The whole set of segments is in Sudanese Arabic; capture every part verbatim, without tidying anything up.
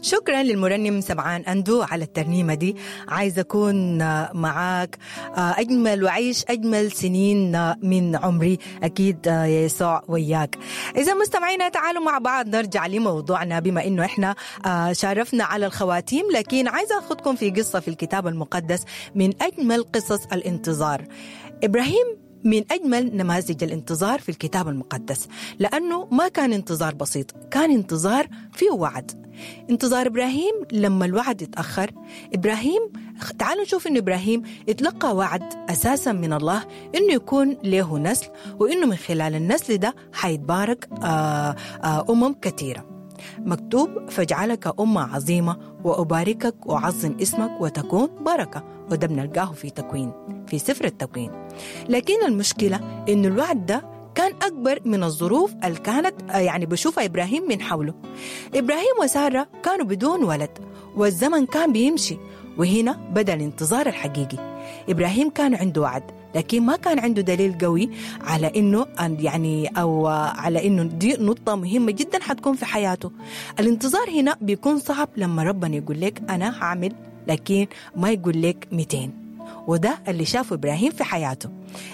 شكرا للمرنم سمعان أندو على الترنيمة دي. عايز أكون معاك أجمل وعيش أجمل سنين من عمري، أكيد يا يسوع وياك. إذا مستمعينا تعالوا مع بعض نرجع لموضوعنا، بما إنه إحنا شارفنا على الخواتيم، لكن عايزة أخذكم في قصة في الكتاب المقدس من أجمل قصص الانتظار. إبراهيم من أجمل نماذج الانتظار في الكتاب المقدس، لأنه ما كان انتظار بسيط، كان انتظار فيه وعد. انتظار إبراهيم لما الوعد اتأخر، إبراهيم تعالوا نشوف إنه إبراهيم اتلقى وعد أساسا من الله إنه يكون له نسل، وإنه من خلال النسل ده حيتبارك أمم كثيرة. مكتوب فاجعلك أمة عظيمة وأباركك وأعظم اسمك وتكون بركة، وده بنلقاه في تكوين، في سفر التكوين. لكن المشكلة إنه الوعد ده كان أكبر من الظروف اللي كانت يعني بشوفها إبراهيم من حوله. إبراهيم وسارة كانوا بدون ولد، والزمن كان بيمشي، وهنا بدأ الانتظار الحقيقي. إبراهيم كان عنده وعد، لكن ما كان عنده دليل قوي على إنه يعني أو على إنه دي نقطة مهمة جدا حتكون في حياته. الانتظار هنا بيكون صعب لما ربنا يقول لك أنا هعمل، لكن ما يقول لك مئتين. وده اللي شافه إبراهيم في حياته.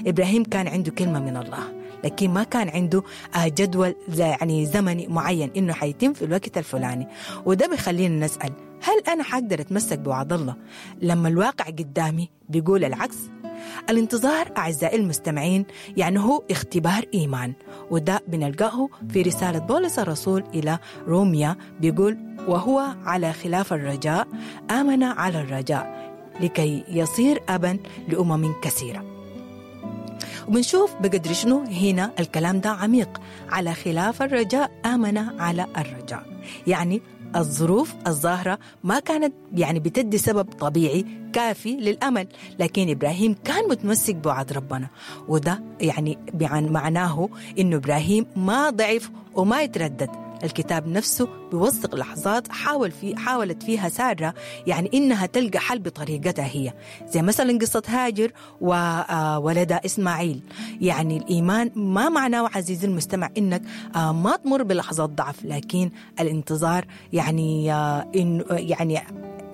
إبراهيم كان عنده كلمة من الله، لكن ما كان عنده جدول يعني زمني معين إنه حيتم في الوقت الفلاني. وده بيخلينا نسأل، هل أنا حقدر أتمسك بوعد الله لما الواقع قدامي بيقول العكس؟ الانتظار أعزائي المستمعين يعني هو اختبار إيمان، وده بنلقاه في رسالة بولس الرسول إلى روميا، بيقول وهو على خلاف الرجاء آمن على الرجاء لكي يصير أبا لأمم كثيرة. وبنشوف بقدر شنو هنا الكلام ده عميق، على خلاف الرجاء آمن على الرجاء، يعني الظروف الظاهرة ما كانت يعني بتدي سبب طبيعي كافي للأمل، لكن إبراهيم كان متمسك بوعد ربنا. وده يعني معناه إنه إبراهيم ما ضعف وما يتردد. الكتاب نفسه بيوثق لحظات حاول في حاولت فيها سارة يعني إنها تلقى حل بطريقتها هي، زي مثلا قصة هاجر وولدها إسماعيل. يعني الإيمان ما معناه عزيزي المستمع إنك ما تمر بلحظات ضعف، لكن الانتظار يعني إنه يعني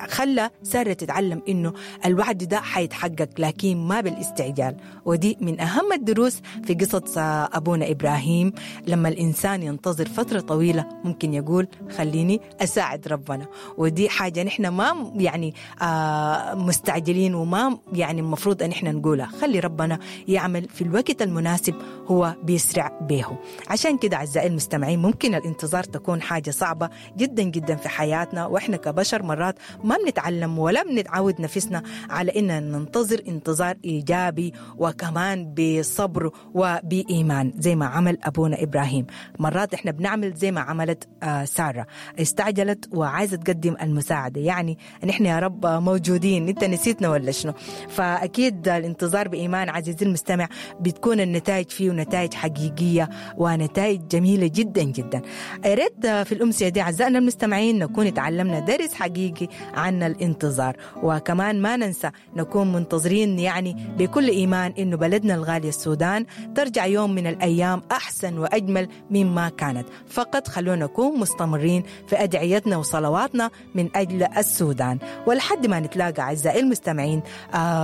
خلى سارة تتعلم إنه الوعد ده حيتحقق، لكن ما بالاستعجال. ودي من أهم الدروس في قصة أبونا إبراهيم. لما الإنسان ينتظر فترة طويلة ممكن يقول خليني أساعد ربنا، ودي حاجة نحن ما يعني آه مستعجلين، وما يعني المفروض أن احنا نقولها، خلي ربنا يعمل في الوقت المناسب، هو بيسرع به. عشان كده أعزائي المستمعين ممكن الانتظار تكون حاجة صعبة جدا جدا في حياتنا، وإحنا كبشر مرات ما بنتعلم ولا بنتعود نفسنا على إننا ننتظر انتظار إيجابي وكمان بصبر وبإيمان زي ما عمل أبونا إبراهيم. مرات إحنا بنعمل زي ما عملت سارة، استعجلت وعايزة تقدم المساعدة، يعني نحن يا رب موجودين، أنت نسيتنا ولا شنو؟ فأكيد الانتظار بإيمان عزيزي المستمع بتكون النتائج فيه نتائج حقيقية ونتائج جميلة جدا جدا. يا ريت في الأمسية دي أعزائنا المستمعين نكون تعلمنا درس حقيقي عن الانتظار، وكمان ما ننسى نكون منتظرين يعني بكل إيمان إنه بلدنا الغالي السودان ترجع يوم من الأيام أحسن وأجمل مما كانت. فقط خلونا نكون مستمرين في أدعيتنا وصلواتنا من أجل السودان. ولحد ما نتلاقى أعزائي المستمعين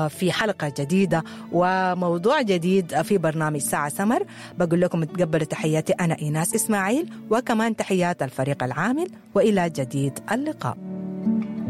في حلقة جديدة وموضوع جديد في برنامج ساعة سمر، بقول لكم تقبلوا تحياتي أنا إيناس إسماعيل، وكمان تحيات الفريق العامل، وإلى جديد اللقاء.